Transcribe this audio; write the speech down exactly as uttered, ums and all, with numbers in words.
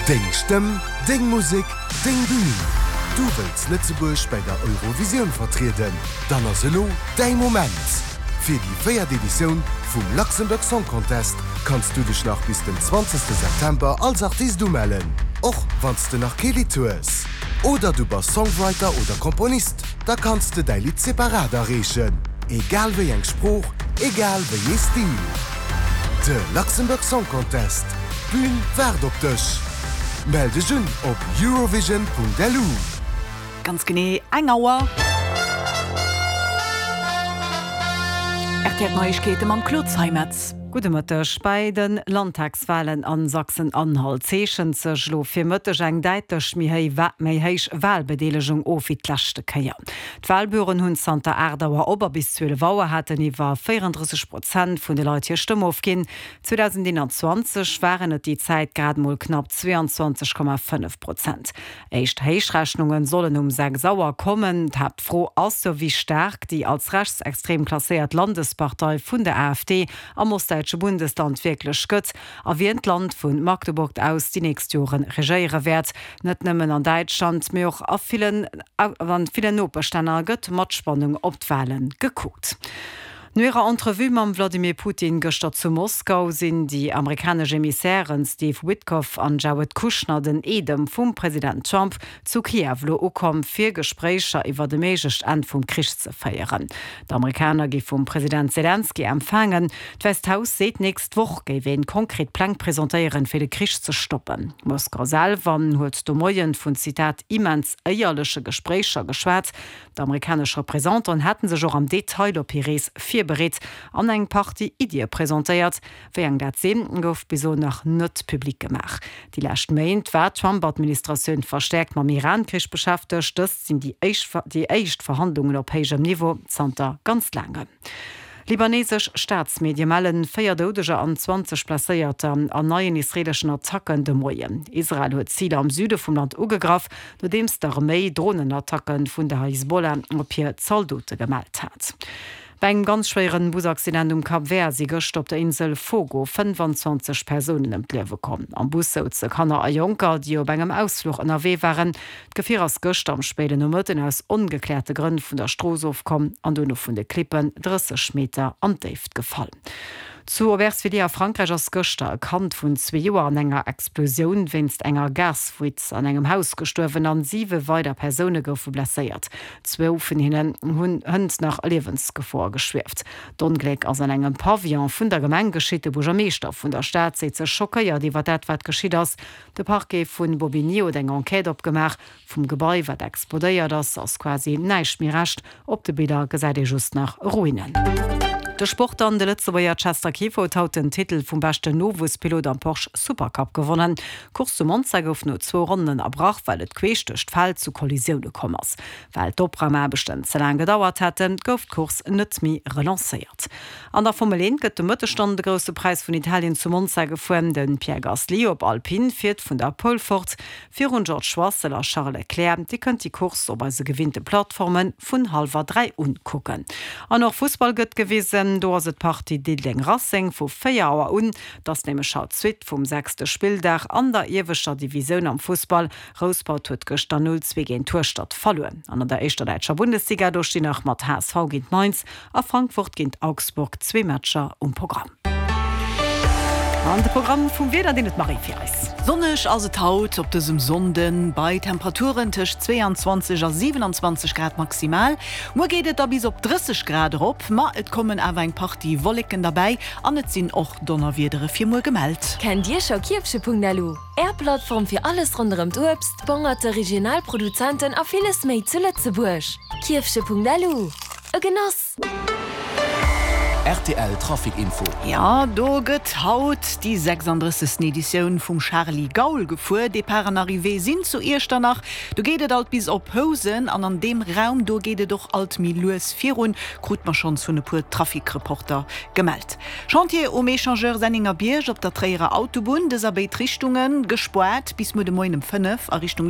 Deng Stëmm, deng Musek, deng Bün. Du wëlls Lëtzebuerg bei der Eurovisioun vertrieden? Dann ass elo däi Moment! Fir déi véiert Editioun vum Luxembourg Song Contest kanns du dech nach bis den zwanzegste September als Artist umellen, och wann s de nach kee Lidd hues. Oder du bass Songwriter oder Komponist, da kanns de däi Lidd separat areechen. Egal wéi eng Sprooch, egal wéi ee Stil. De Luxembourg Song Contest, d'Bün waart op dech! Mell dech un op eurovision.lu. Ganz genee eng Auer. R T L Neiegkeete mam Claude Zeimetz. Gudde Mëtteg. Bei de Landtagswalen a Sachsen-Anhalt zeechent sech elo fir Mëtteg eng däitlech méi héi méi héich Walbedeelegung of wéi d'leschte Kéier. D'Walbüroen hunn zanter aacht Auer op a bis zwielef Auer haten iwwer véierendrësseg Prozent vun de Leit hir Stëmm ofginn. zweedausendeenanzwanzeg waren et déi Zäit grad mol knapp zweeanzwanzeg Komma fënnef Prozent. Éischt Héichrechnunge sollen um sechs Auer kommen. D'Haaptfro ass jo, wéi staark déi als rechtsextrem klasséiert Landespartei vun der A F D am ostdäitsche Bundesland wierklech gëtt a wien d'Land vu Magdeburg aus déi nächst Joren regéiere wäert. Net nëmmen an Däitschland, mee och a villen an villen Nopeschlänner gëtt mat Spannung op d'Wale gekuckt. No hirer Entrevue mam Wladimir Putin gëschter zu Moskau sinn déi amerikanesch Emissairen Steve Witkoff an Jared Kushner, den Eedem vum President Trump, zu Kiew elo ukomm, fir Gespréicher iwwert e méiglecht Enn vum Krich ze féieren. D'Amerikaner gi vum President Selenskyj empfaangen. D'Wäisst Haus seet, nächst Woch géif een konkret Pläng presentéieren, fir de Krich ze stoppen. Moskau selwer huet de Moien vun, Zitat, immens éierleche Gespréicher geschwat. D'amerikanesch Representanten hätte sech och am Detail op hir Rees virbereet an eng Partie Iddie presentéiert. Wéi eng dat sinn, gouf bis elo nach net public gemaach. Déi lescht Méint war d'Trump-Administratioun verstäerkt mam Iran-Krich beschäftegt. Dëst sinn déi éischt déi éischt Verhandlungen op héijem Niveau zanter ganz laangem. Libanesesch Staatsmedie mellen véier Doudeger an zwanzeg Blesséierter an neien israeeleschen Attacken de Moien. Israel huet Ziler am Süde vum Land ugegraff, nodeems d'Arméi Dronenattacke vun der Hisbollah op hir Zaldote gemellt hat. Bei engem ganz schwéieren Busaccident um Cap Vert si gëschter op der Insel Fogo fënnefanzwanzeg Persounen ëm d'Liewe komm. Am Bus souze Kanner a Jonker, déi op engem Ausfluch ënnerwee waren. D'Gefier ass gëschter am spéiden Nomëtten aus ongekläerte Grënn vun der Strooss ofkomm an dono vun de Klippen drësseg Meter an d'Déift gefall. Zu Aubervilliers a Frankräich ass gëschter e Kand vun zwee Joer an enger Explosioun wéinst enger Gasfuite an engem Haus gestuerwen an siwe weider Persoune goufe blesséiert. Zwou vun hinnen hunn hënt nach a Liewensgefor geschwieft. D'Ongléck ass an engem Pavillon vun der Gemeng geschitt. De Buergermeeschter vun der Stad seet sech schockéiert iwwer dat wat geschitt ass. De Parquet vu Bobigny huet eng Enquête opgemaach. Vum Gebai wat explodéiert ass, ass quasi näischt méi Rescht. Op de Biller gesäit ee just nach Ruinen. De Sport dann, De Lëtzebuerger Chester Kieffer huet haut den Titel vum beschten Nowuesspilot am Porsche Supercup gewonnen. D'Course zu Monza gouf no zwou Ronnen ënnerbrach, well et queesch duerch d'Feld zu Kollisioune komm ass. Well d'Opraumaarbechten ze laang gedauert hätten, gouf d'Course net méi relancéiert. An der Formel eent gëtt de Mëtteg dann de Grousse Präis vun Italien zu Monza gefuer. De Pierre Gasly op Alpine fiert vun der Pole fort, virun George Russell a Charles Leclerc. Dir kënnt déi Course op eise gewinnte Plattforme vun hallwer dräi un kucken. An och Fussball gëtt gewisen, do ass et d'Partie Diddeleng-Racing vu véier Auer un. Et ass nämlech haut d'Suite vum sechste Spilldag an der ieweschter Divisioun am Fussball. Rouspert huet gëschter null zwee géint Hueschtert verluer. An an der éischter däitscher Bundesliga, do stinn nach mat H S V géint Mainz a Frankfurt géint Augsburg zwee Matcher um Programm. An de Programm vum Wieder, deen huet d'Marie fir eis. Sonneg ass et haut op dësem Sonnden, bei Temperaturen tëscht zweeanzwanzeg a siwenanzwanzeg Grad maximal. Muer geet et da bis op drësseg Grad erop, ma et kommen awer eng Partie Wolleken derbäi an et sinn och Donnerwiedere fir muer gemellt. Kennt Dir scho Kierfche Punkt L U? Är Plattform fir alles ronderëm d'Uebst, d'Bongerte, regional Produzenten a villes méi zu Lëtzebuerg. Kierfche Punkt L U, e Genoss! R T L Trafic Info. Jo, do gëtt haut déi sechsanddrëssegsten Editioun vum Charly Gaul gefuer. Depart an Arrivée sinn zu Iechternach. Do geet et alt bis op Housen an an deem Raum do geet et och alt méi lues virun, krute mer schonns vun e puer Trafic-Reporter gemellt. Chantier um Echangeur Sennengerbierg op der Tréierer Autobunn, dës a béid Richtunge gespaart bis muer de Moien ëm fënnef a Richtung.